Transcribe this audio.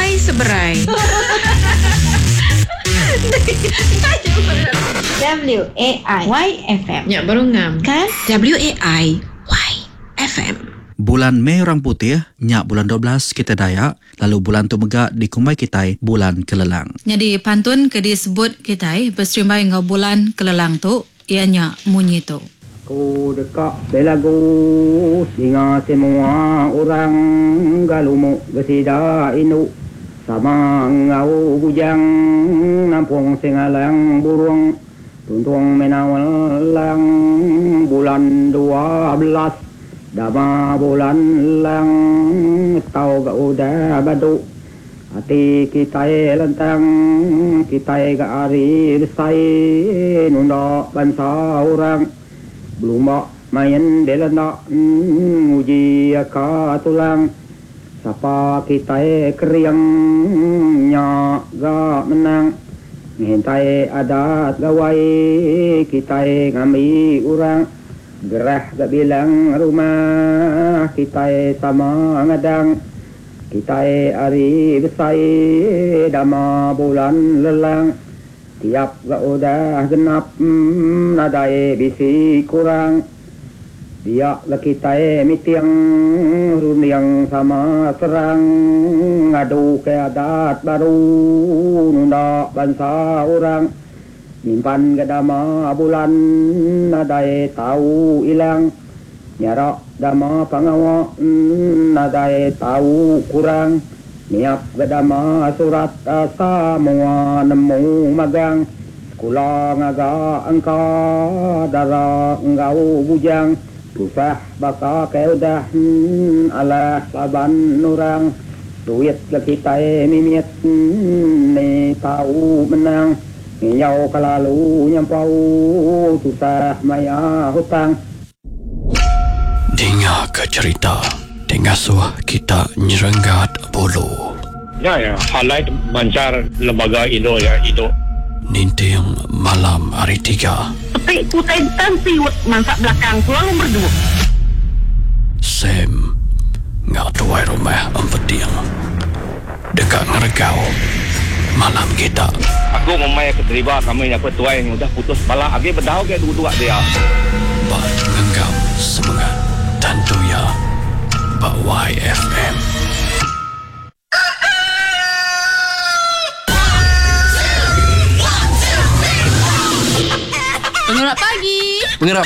Ai seberai. W A I Y F M. Nya baru ngam. Kan? W A I Y F M. Bulan Mei orang putih, nya bulan 12 kitai Dayak, lalu bulan tu mega dikumbai kitai bulan kelelang. Nyadi pantun ke disebut kitai beserimbai enggau bulan kelelang tu iya nya munyi tu. Aku deka belagu ninga semua orang galumuk besida indu sama enggau bujang nampung sengalang burung tuntung menaul lang bulan 12 dama bulan lang tau ga udah badu. Ati kitai lantang, kitai ga ari besai nunda bansa orang. Belumba main belanda nguji ka tulang. Sapa kitai kering nya ga menang. Ngintai adat gawai kitai ngambi orang. Gerah ga bilang rumah kitai sama ngadang. Kitai ari besai dama bulan lelang. Tiap ga udah genap nadai bisi kurang. Dia ga kitai miting runding sama serang. Ngadu ke adat baru nunda bansa orang. Nyimpan ga dama bulan nadai tau ilang. Nyarak dama pengawa nadai tau kurang. Niap ga dama surat samoa nemu magang. Sekula ngaga engka dara enggau bujang. Tusah baka ke udah alah laban orang. Duit ga kitai mimit ni tau menang. Nginjau kelalu nyampau tusah maya hutang. Dinga ke cherita ti ngasuh kita nyerenggat bulu. Nya iya highlight manchar lembaga indu iya indu. Ninting malam hari tiga. Sepi ku tai tensiut mansa belakang ku lalu merdu. Sam enggau tuai rumah Empeting deka ngeregau malam kita. Aku ngumbai ke deriba kami nya ku tuai udah putus bala agi bedau ge duduk dia. Ba ngenggam semengat tentu iya ba YFM. Pengerak pagi. Pengerak pagi.